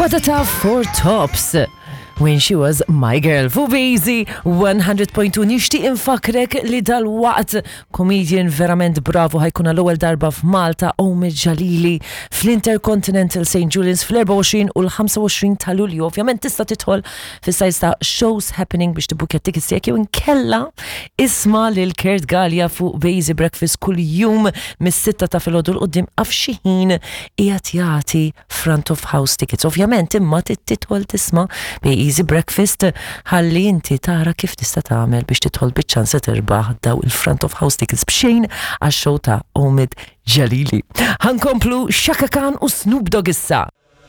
Patata for Tops. When She Was My Girl fuq Bazy 100.2 nixtieq infakrek li dal-waqt comedian verament bravu ħa jkun għall-ewwel darba f'Malta Omid Jalili fl-Intercontinental St. Julian's fl-24 u l-25 ta' Lulju. Ovvjament tista' tidħol fis-sajt ta' Shows Happening biex tibbukja tickets tiegħek jew inkella isma' lil Kurt Galea fuq Bazy Breakfast kull jum mis-sitta ta' filgħodu 'l quddiem għaf xi ħin qiegħed jagħti front of house tickets. Ovvjament imma tidħol tisma' bi Easy Breakfast ħalli inti tara kif tista' tagħmel biex tidħol biċ-ċans se tirbaħ daw il-front of house tickets b'xejn għax-show ta' Omid Jalili. Ħankomplu Chaka Khan u Snoop Dogg issa.